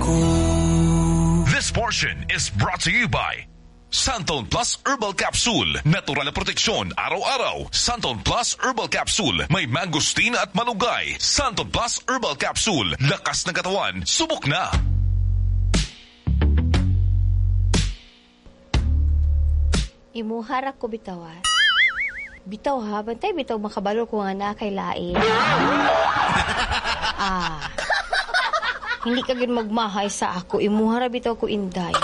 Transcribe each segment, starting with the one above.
ko. This portion is brought to you by Xanthone Plus Herbal Capsule. Natural na proteksyon araw-araw. Xanthone Plus Herbal Capsule. May mangosteen at malunggay. Xanthone Plus Herbal Capsule. Lakas ng katawan. Subok na. Imuha ra ko bitaw ha. Bitaw ha, bantay bitaw makabalo ko nga naa kay lain. Ah. Hindi ka gyud magmahay sa ako. Imuha ra bitaw ko, Inday.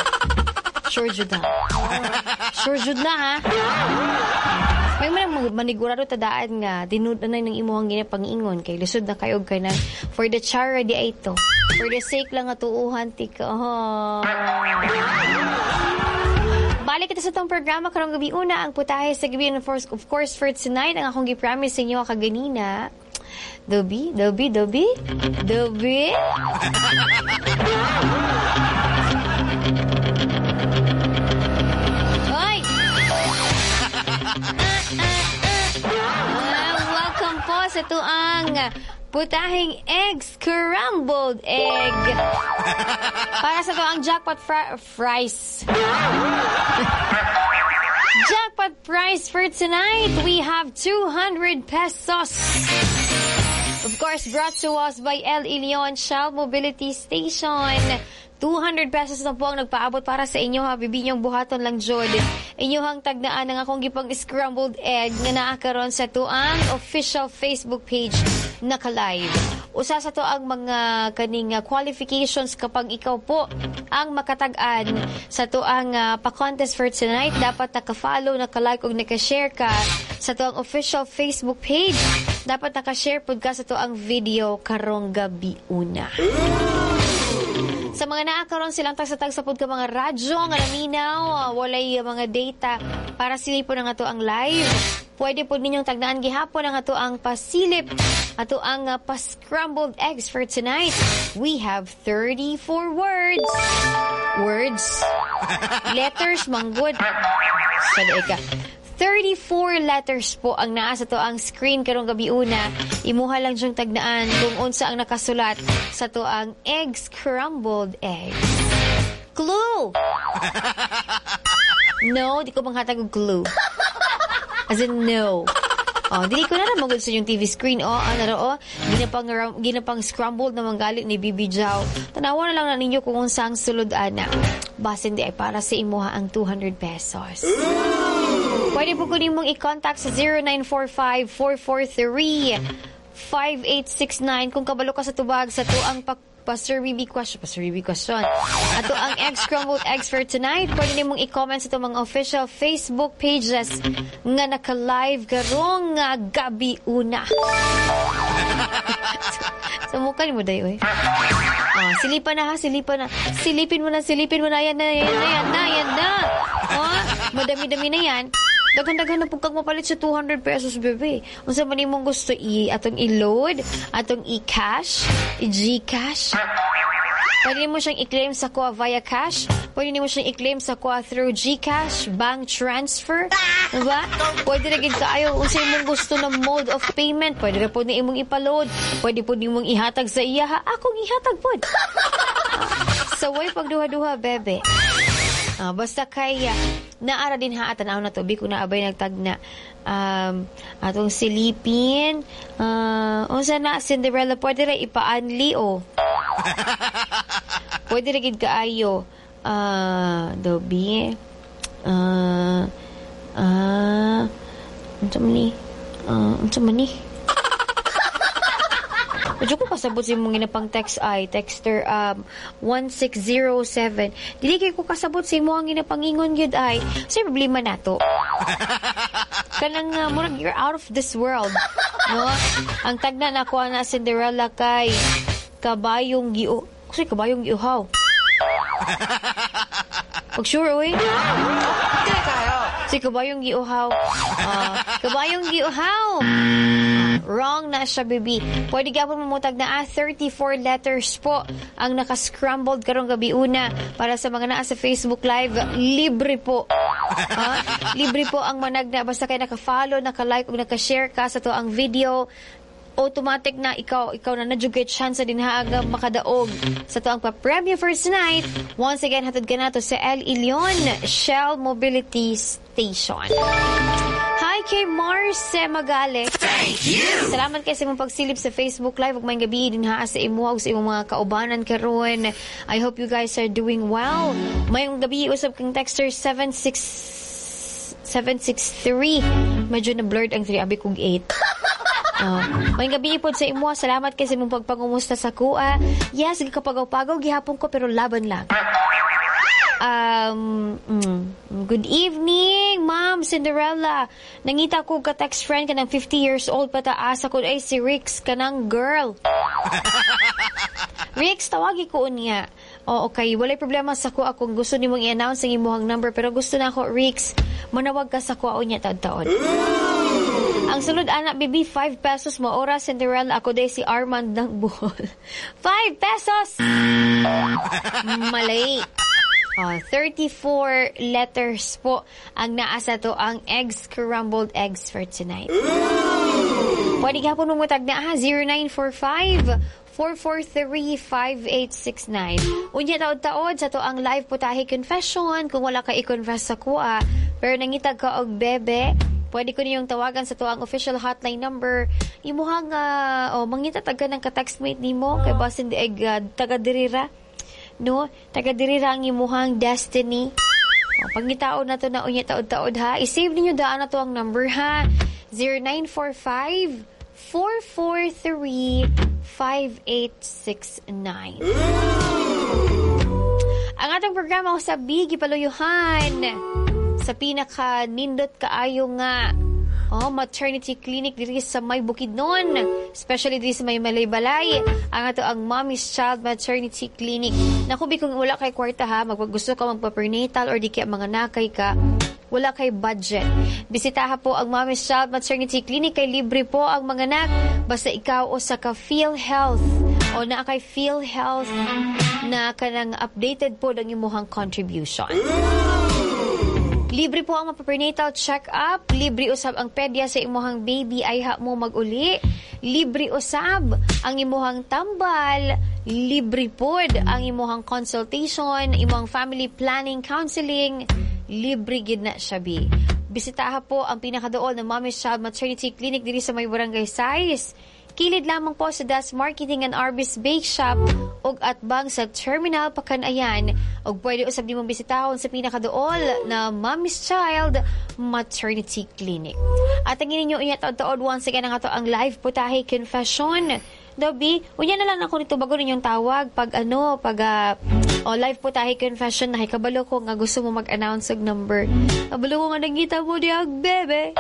Sure jud na. Sure jud na ha. May man manigurado tadaan nga tinud na ng imuhang ginapangingon kay lisod na kayo kay na for the charity ito. For the sake lang nga tuuhan ti ka. Oh. Balik kita sa itong programa karong gabi una ang putahe sa gabi and of course for tonight ang akong gi-promise sa inyo kaganina. Dobi, dobi, dobi, dobi. Oy! Welcome po sa tuang putahing egg scrambled egg. Para sa tuang jackpot fries. Jackpot prize for tonight, we have 200 pesos. Of course, brought to us by El Ilion Shell Mobility Station. 200 pesos na po ang nagpaabot para sa inyo ha. Bibi niyong buhaton lang jud. Inyong tagnaan ang akong gipang scrambled egg nga naa karon sa tuang official Facebook page naka-live. Usa sa to ang mga kaning qualifications kapag ikaw po ang makatag-an sa tuang pa-contest for tonight, dapat naka-follow, naka-like ug naka-share ka sa tuang official Facebook page. Dapat naka-share pud ka sa tuang video karong gabi una. Sa mga naa karon silang tagsa-tagsa pud ka mga radyo nga naminaw, walay mga data para silipon ang ato ang live. Pwede pud ninyong tagnaan gihapon ang ato ang pasilip, ato ang pa-scrambled eggs for tonight. We have 34 words. Words. Letters, manggod. Sa ka. 34 letters po ang naa sa to ang screen karong gabi una. Imuha lang siyang tagnaan kung unsa ang nakasulat sa to ang egg scrambled eggs. Clue! No, di ko manghatag og clue. As in, no. Oh, dili ko na lang magod sa inyong TV screen. Oh, ano ro, oh, ginapang scrambled na manggalit ni Bibi Jau. Tanawa na lang na ninyo kung unsa ang sulod ana. Basin di ay para sa imuha ang 200 pesos. Pwede po ko nimong i-contact sa 0945-443-5869 kung kabalo ka sa tubag sa tuang Pastor BB question. Pastor BB question. Ato ang egg scrambled eggs for tonight. Pwede nimong i-comment sa itong mga official Facebook pages nga naka-live karong nga gabi una. Sa mukha ni mo dayo eh. Oh, silipan na ha, silipan na. Silipin mo na, silipin mo na. Yan na, yan na, yan na, yan na. Oh, madami-dami na yan. Daghan-daghan na pug kag mapalit sa 200 pesos, bebe. Unsa man imong gusto atong i-load, atong i-cash, i-GCash. Pwede mo siyang i-claim sa kuha via cash. Pwede mo siyang i-claim sa kuha through GCash, bank transfer. Diba? Pwede na gid kaayo unsa imong gusto na mode of payment. Pwede ra pod na imong ipaload. Pwede pod nimong ihatag sa iya ha. Akong ihatag pod. Saway pagduha-duha, bebe. Basta kay naara din ha, tanaw na to, bi ko naabay nagtagna. Atong silipin. Unsa na Cinderella, pwede ra ipaanli o. Pwede ra gid kaayo. Dobi. Unsa man ni? Unsa man ni? Medyo ko kasabot sa imong ginapang text ay texter 1607. Dili kay ko kasabot sa imong ginapangingon gyud ay. Sa problema nato. Kanang murag you're out of this world, no? Ang tagna na ko na Cinderella kay kabayong giu. Kasi kabayong giuhaw. Pag sure oy. Si kabayong giuhaw. Kabayong giuhaw. Wrong na siya, baby. Pwede gapon mamutag na 34 letters po ang naka-scrambled karong gabi una para sa mga naa sa Facebook Live. Libre po. Ha? Libre po ang managna. Basta kay naka-follow, naka-like, o naka-share ka sa to ang video. Automatic na ikaw na na jud chance dinha nga makadaog sa atoang papremyo for tonight. Once again, hatod kanato sa El Ilion Shell Mobility Station. Hi kay Marce Magale. Thank you. Salamat kay sa imong pagsilip sa Facebook Live ug maayong gabi dinha sa imo ug sa imong mga kaubanan karon. I hope you guys are doing well. Maayong gabi usab kang texter 76 763. Medyo na blurred ang 3, abi kog 8. Oh. Maayong gabi pod sa imo. Salamat kay sa imong pagpangumusta sa akoa. Yes, gikapagaw-pagaw gihapon ko pero laban lang. Good evening, Ma'am Cinderella. Nangita ko ka text friend kanang 50 years old pataas ako ay si Rix kanang girl. Rix, tawagi ko unya. Oo, okay. Walay problema sa ko kung gusto nimong i-announce ang imuhang number, pero gusto na ako, Rix, manawag ka sa ko unya taod-taod. Ang sulod ana, baby, 5 pesos mo. Ora, Cinderella, ako day si Armand ng Bohol. 5 pesos! Malay. Oh, 34 letters po ang naa sa atoang eggs, scrambled eggs for tonight. Pwede ka po mumutag na ha, 0945 443-5869. Unya taod-taod sa atoang live putahe confession kung wala ka i-confess sa akoa, pero nangitag ka og bebe, pwede ko niyong tawagan sa atoang official hotline number. Imuhang oh, mangita tag ka ng ka-textmate nimo kay basin di ay taga dirira. No, taga dirira ang imuhang destiny. O, pangitaon na to na unya taod-taod ha. I-save ninyo daan na to ang number ha. 0945 443 5869. Ang atong programa sa Bigi Paluyuhan sa pinaka nindot kaayo nga, oh, maternity clinic diri sa may Bukidnon, especially diri sa may Malaybalay, ang ato ang Mommy's Child Maternity Clinic. Naku, bi, kung wala kay kwarta ha, maggusto ka magpa-prenatal or di kaya mga nakay ka, wala kay budget. Bisitaha po ang Mommy's Child Maternity Clinic kay libre po ang mga anak basta ikaw o sa ka PhilHealth o naa kay PhilHealth na kanang updated po ang imuhang contribution. Libre po ang prenatal check-up, libre usab ang pedya sa imuhang baby ayha mo mag-uli, libre usab ang imuhang tambal, libre pod ang imuhang consultation, imuhang family planning counseling, libre gid na siya bi. Bisitaha po ang pinakadool ng Mommy's Child Maternity Clinic diri sa may Barangay Sais. Kilid lamang po sa Das Marketing and Arbis Bake Shop ug atbang sa Terminal Pacanayan, ug pwede usab nimong bisitahon sa pinakadool na Mommy's Child Maternity Clinic. At ang ninyo unya taod-taod, once again, ang ato ang live putahe confession. Dobby, unya na lang ako nito bago ninyong tawag pag ano, pag oh, live putahe confession na kabalo ko nga gusto mo mag-announce og number. Kabalo ko nga nangita mo diyag bebe.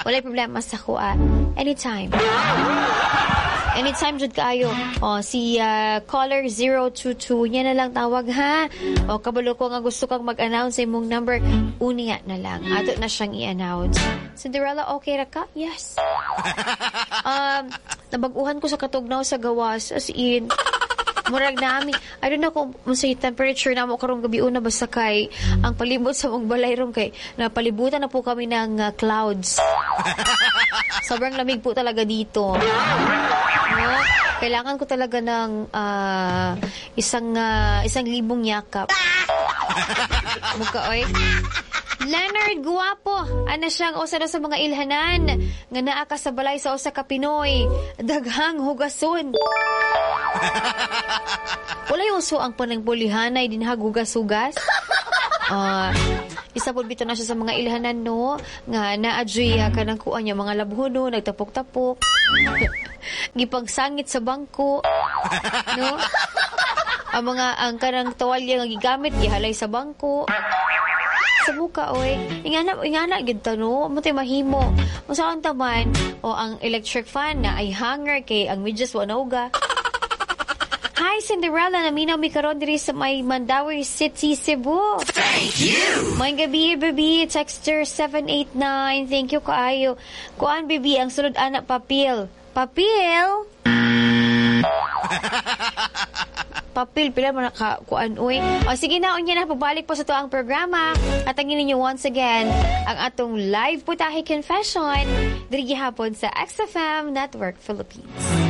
Walay problema sa kuha. Anytime. Anytime jud kaayo. Oh, si caller 022 niya na lang tawag ha. O kabalo ko nga gusto kang mag-announce sa imong number, unya na lang. Ato na siyang i-announce. Cinderella, okay ra ka? Yes. Nabag-uhan ko sa katugnaw sa gawas, as in. Murag nami, I don't know kung unsay temperature namo karong gabi una, basta kay ang palibot sa mong balay ron kay napalibutan na po kami ng clouds. Sobrang lamig po talaga dito. No? Kailangan ko talaga ng 1,000 yakap. Mukha, oy. Leonard Guwapo, ana siyang usa na sa mga ilhanan nga naa ka sa balay sa usa ka Pinoy, daghang hugason. Walay uso ang panangbulihanay dinha hugas-hugas. Isa po bitaw na siya sa mga ilhanan, no, nga naadyoy kanang kuan niya mga labhono, nagtapok-tapok. Gipagsangit sa bangko, no? Ang mga ang kanang tuwalya nga gigamit gihalay sa bangko. Sa buka, oy. Ingana, ingana, gid ta, no? Mo tay mahimo. Unsa taman, o ang electric fan na ay hanger kay ang medyas wa nauga. Hi, Cinderella. Naminaw mi karon diri sa may Mandaue City, Cebu. Thank you. Maayong gabi, baby. Texter 789. Thank you kaayo. Kuan, baby, ang sulod ana papel. Papel? Papel pila man ka kuan uy. O sige na, unya na pabalik po sa atoang programa at ang ninyo once again ang atong live Putahe Confession diri gihapon sa XFM Network Philippines.